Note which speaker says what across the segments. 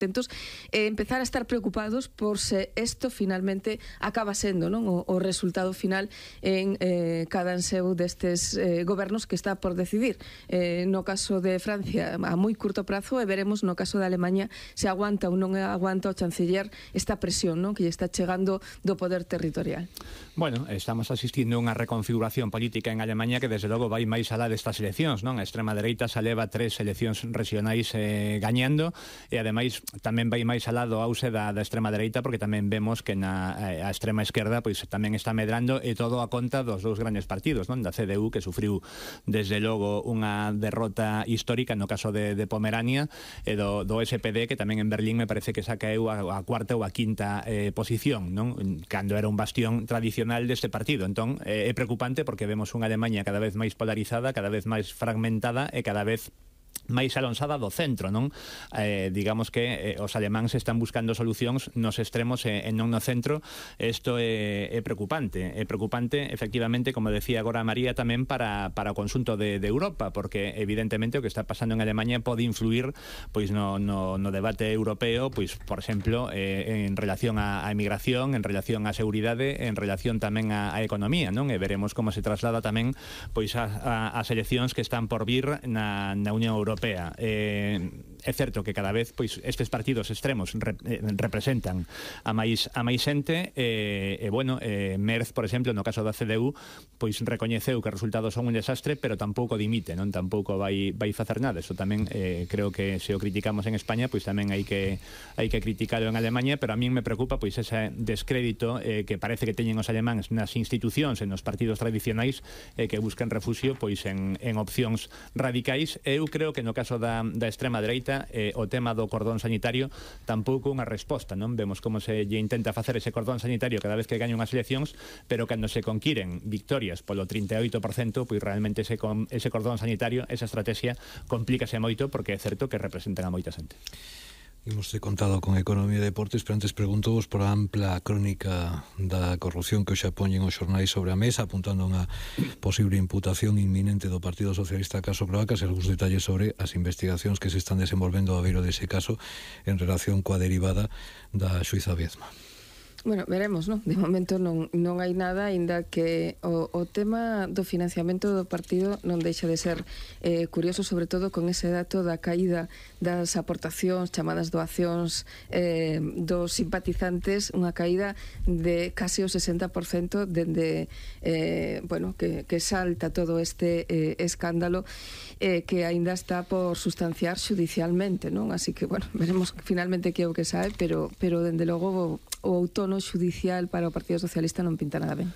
Speaker 1: atentos e empezar a estar preocupados por se isto finalmente acaba sendo, non, o resultado final en cada anseu destes gobernos que está por decidir. No caso de Francia a moi curto prazo, e veremos no caso de Alemanha se aguanta ou non aguanta o chanceller esta presión, non, que lle está chegando do poder territorial.
Speaker 2: Bueno, estamos asistindo a unha reconfiguración política en Alemanha que desde logo vai máis alá destas eleccións, non? A extrema dereita xa leva 3 eleccións regionais gañando, e ademais tamén vai máis alá do ause da extrema dereita, porque tamén vemos que a extrema esquerda pois tamén está medrando, e todo a conta dos dous grandes partidos, non? Da CDU, que sufriu desde logo unha derrota histórica no caso de Pomerania, e do SPD, que tamén en Berlín me parece que xa caeu a cuarta ou a quinta posición, non? Cando era un bastión tradicional deste partido. Entón, é preocupante porque vemos unha Alemanha cada vez máis polarizada, cada vez máis fragmentada e cada vez máis alonsada do centro, non? Digamos que os alemáns están buscando solucións nos extremos e non no centro. Isto é preocupante. É preocupante, efectivamente, como decía agora María, tamén para o conxunto de Europa, porque evidentemente o que está pasando en Alemanha pode influir pois no debate europeo, pois, por exemplo, en relación á emigración, en relación á seguridade, en relación tamén á economía, non? E veremos como se traslada tamén pois as eleccións que están por vir na Unión Europea. É certo que cada vez pois estes partidos extremos representan a máis xente, e bueno, Merz, por exemplo, no caso da CDU, pois recoñeceu que os resultados son un desastre, pero tampouco dimite, non? Tampouco vai facer nada. Eso tamén creo que se o criticamos en España, pois tamén hai que criticarlo en Alemanha, pero a min me preocupa pois ese descrédito que parece que teñen os alemáns nas institucións e nos partidos tradicionais, que buscan refuxio pois en opcións radicais. Eu creo que no caso da extrema dereita o tema do cordón sanitario tampouco unha resposta, non? Vemos como se lle intenta facer ese cordón sanitario cada vez que gañan as eleccións, pero cando se conquiren victorias polo 38%, pois realmente ese cordón sanitario, esa estrategia, complícase moito, porque é certo que representan a moita xente.
Speaker 3: Imos contado con Economía e Deportes, pero antes preguntou-vos por a ampla crónica da corrupción que hoxe poñen os xornais sobre a mesa, apuntando a unha posible imputación inminente do Partido Socialista caso Cloacas, e algúns detalles sobre as investigacións que se están desenvolvendo a beiro dese caso en relación coa derivada da xuíza Viezma.
Speaker 1: Bueno, veremos, non? De momento non hai nada, aínda que o tema do financiamento do partido non deixa de ser curioso, sobre todo con ese dato da caída das aportacións, chamadas doacións dos simpatizantes, unha caída de casi o 60% dende bueno, que salta todo este escándalo que aínda está por sustanciar judicialmente, non? Así que, bueno, veremos finalmente que é o que sae, pero dende logo o outono judicial para o Partido Socialista non pinta nada ben.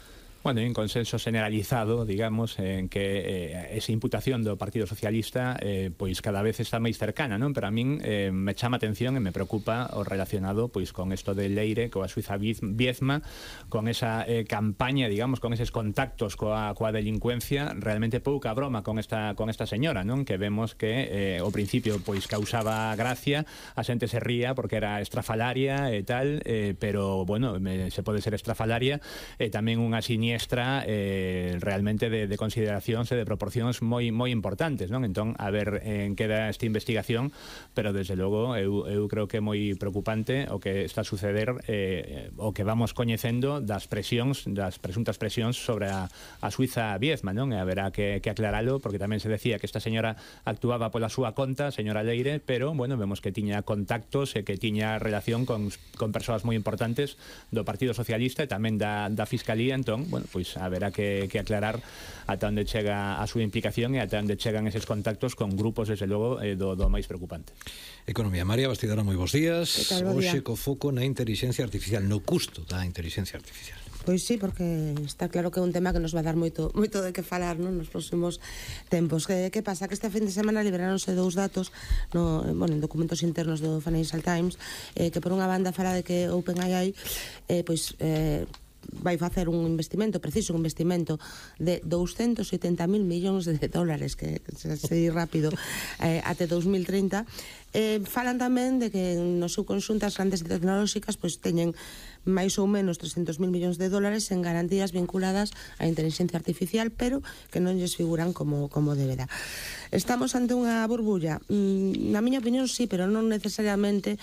Speaker 2: Bueno, hai un consenso generalizado, digamos, en que esa imputación do Partido Socialista pois cada vez está máis cercana, non? Pero a min me chama atención e me preocupa o relacionado pois con isto de Leire, coa xuíza Viezma, con esa campaña, digamos, con eses contactos coa delincuencia, realmente pouca broma con esta señora, non? Que vemos que ao principio pois causaba gracia, a xente se ría porque era estrafalaria e tal, pero, bueno, se pode ser estrafalaria e tamén unha siniestra realmente de consideracións e de proporcións moi importantes, non? Entón, a ver en que da esta investigación, pero desde logo eu creo que é moi preocupante o que está a suceder, o que vamos coñecendo das presuntas presións sobre a xuíza Viezma, non? E haberá que aclaralo, porque tamén se decía que esta señora actuaba pola súa conta, señora Leire, pero, bueno, vemos que tiña contactos e que tiña relación con persoas moi importantes do Partido Socialista e tamén da Fiscalía. Entón, bueno, pois haberá que aclarar ata onde chega a súa implicación e ata onde chegan eses contactos con grupos, desde logo, do máis preocupante.
Speaker 3: Economía. María Bastidara, moi bons días. Hoxe co foco na inteligencia artificial, no custo da inteligencia artificial.
Speaker 4: Pois sí, porque está claro que é un tema que nos va a dar moito de que falar, non, nos próximos tempos. Que pasa? Que este fin de semana liberaronse dous datos en documentos internos do Financial Times, que por unha banda fala de que OpenAI vai facer un investimento de 270.000 millóns de dólares, que se di rápido, até 2030. Falan tamén de que no seu conxunto as grandes tecnolóxicas pois teñen máis ou menos 300.000 millóns de dólares en garantías vinculadas á inteligencia artificial, pero que non lles figuran como deberá. Estamos ante unha burbulla? Na miña opinión sí, pero non necesariamente